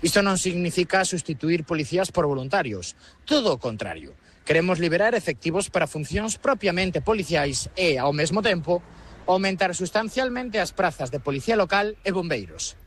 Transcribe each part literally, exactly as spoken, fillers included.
Isto non significa sustituir policías por voluntarios, todo o contrario. Queremos liberar efectivos para funcións propiamente policiais e, ao mesmo tempo, aumentar sustancialmente as prazas de policía local e bombeiros.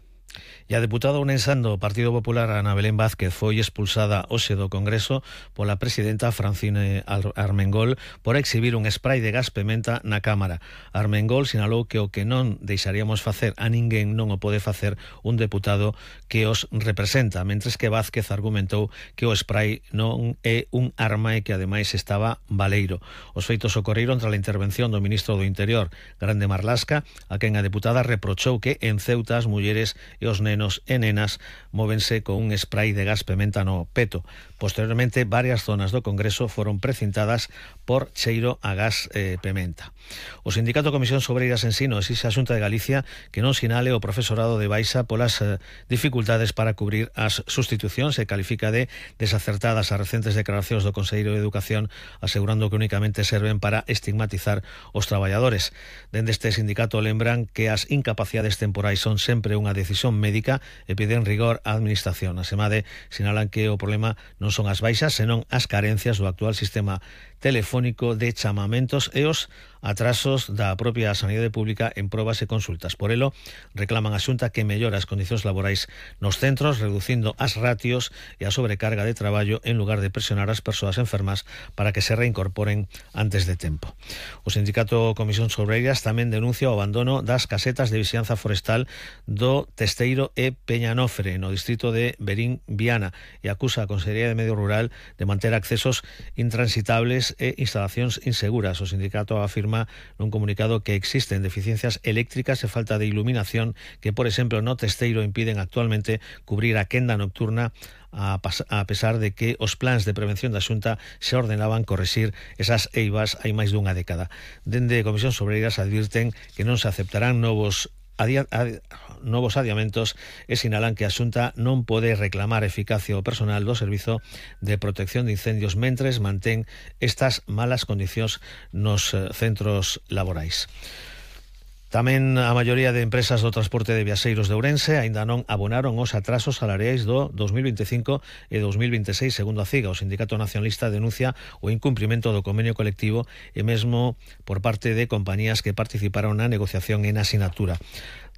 E a deputada unensán do Partido Popular, Ana Belén Vázquez, foi expulsada hoxe do Congreso pola presidenta Francine Armengol por exhibir un spray de gas pementa na Cámara. Armengol sinalou que o que non deixaríamos facer a ninguén non o pode facer un deputado que os representa, mentres que Vázquez argumentou que o spray non é un arma e que ademais estaba baleiro. Os feitos ocorreron tras a intervención do ministro do Interior, Grande Marlasca, a quen a deputada reprochou que en Ceuta as mulleres e os nenos e nenas móvense con un spray de gas pementa no peto. Posteriormente, varias zonas do Congreso foron precintadas por cheiro a gas eh, pementa. O Sindicato Comisión Obreiras Ensino exixe a Xunta de Galicia que non sinale o profesorado de baixa polas eh, dificultades para cubrir as sustitucións e califica de desacertadas as recentes declaracións do Conselleiro de Educación asegurando que únicamente serven para estigmatizar os traballadores. Dende este sindicato lembran que as incapacidades temporais son sempre unha decisión médica e piden rigor á administración. Asemade, sinalan que o problema non son as baixas, senón as carencias do actual sistema telefónico de chamamentos e os atrasos da propia sanidade pública en probas e consultas. Por elo, reclaman a Xunta que mellora as condicións laborais nos centros, reducindo as ratios e a sobrecarga de traballo en lugar de presionar as persoas enfermas para que se reincorporen antes de tempo. O Sindicato Comisión Obreiras tamén denuncia o abandono das casetas de vixianza forestal do Testeiro e Peñanofre, no distrito de Berín Viana, e acusa a Consellería de Medio Rural de manter accesos intransitables e instalacións inseguras. O sindicato afirma nun comunicado que existen deficiencias eléctricas e falta de iluminación que, por exemplo, no Testeiro impiden actualmente cubrir a quenda nocturna a pesar de que os plans de prevención da Xunta se ordenaban corrixir esas eivas hai máis dunha década. Dende Comisión Obreiras advirten que non se aceptarán novos Adia, ad, novos adiamentos e sinalan que a Xunta non pode reclamar eficacia ao personal do Servizo de Protección de Incendios mentres mantén estas malas condicións nos centros laborais. Tamén a maioría de empresas do transporte de viaxeiros de Ourense aínda non abonaron os atrasos salariais do dos mil vinte e cinco e dos mil vinte e seis, segundo a CIGA. O Sindicato Nacionalista denuncia o incumprimento do convenio colectivo e mesmo por parte de compañías que participaron na negociación e na asinatura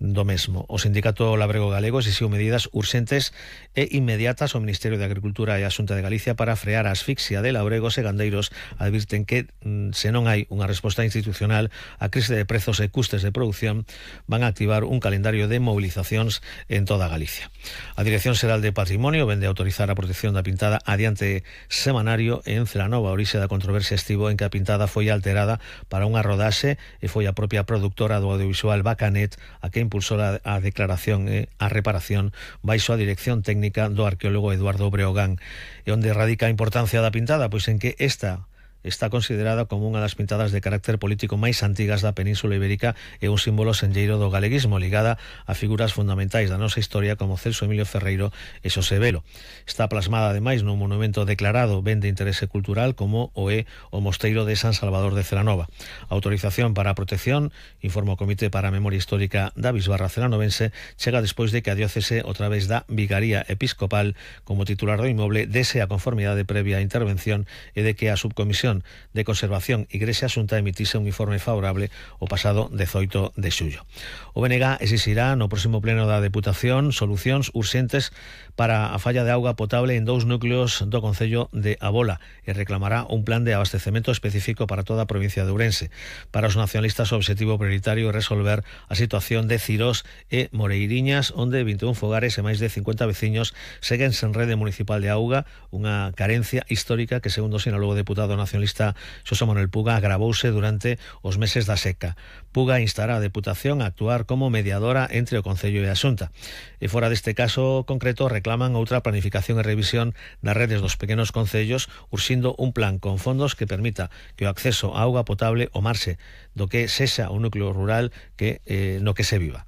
do mesmo. O Sindicato Labrego Galego exixiu medidas urxentes e inmediatas ao Ministerio de Agricultura e a Xunta de Galicia para frear a asfixia de labregos e gandeiros. Advirten que se non hai unha resposta institucional á crise de prezos e custes de producción, van a activar un calendario de movilizacións en toda Galicia. A Dirección Xeral de Patrimonio vende a autorizar a protección da pintada adiante semanario en Celanova. A orixe da controversia estivo en que a pintada foi alterada para unha rodaxe e foi a propia produtora do audiovisual Bacanet a que impulsou a, a declaración e a reparación baixo a dirección técnica do arqueólogo Eduardo Breogán. E onde radica a importancia da pintada? Pois en que esta está considerada como unha das pintadas de carácter político máis antigas da Península Ibérica e un símbolo senlleiro do galeguismo, ligada a figuras fundamentais da nosa historia como Celso Emilio Ferreiro e Xosé Velo. Está plasmada ademais nun monumento declarado ben de interese cultural como o é o Mosteiro de San Salvador de Celanova. A autorización para a protección, informa o Comité para a Memoria Histórica da Bisbarra Celanovense, chega despois de que a diócese, a través da Vigaría Episcopal, como titular do inmoble, dese a conformidade previa a intervención e de que a subcomisión de Conservación Igrexa Xunta emitise un informe favorable o pasado dezoito de xullo. O B N G exixirá no próximo pleno da Deputación solucións urxentes para a falla de auga potable en dous núcleos do concello de Abola e reclamará un plan de abastecemento específico para toda a provincia de Ourense. Para os nacionalistas o obxectivo prioritario é resolver a situación de Cirós e Moreiriñas, onde vinte e un fogares e máis de cincuenta veciños seguen sen rede municipal de auga, unha carencia histórica que, segundo sinalou o deputado nacionalista Xosé Manuel Puga, agravouse durante os meses da seca. Puga instará a Deputación a actuar como mediadora entre o Concello e a Xunta. E fora deste caso concreto reclaman outra planificación e revisión das redes dos pequenos concellos, urxindo un plan con fondos que permita que o acceso a auga potable o marxe do que sexa o núcleo rural que eh, no que se viva.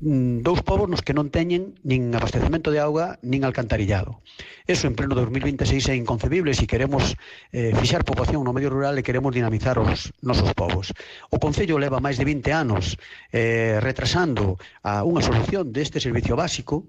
Dous povos nos que non teñen nin abastecemento de auga nin alcantarillado. Eso en pleno dos mil vinte e seis é inconcebible se queremos eh, fixar poboación no medio rural e queremos dinamizar os nosos povos. O Concello leva máis de vinte anos eh, retrasando a unha solución deste servicio básico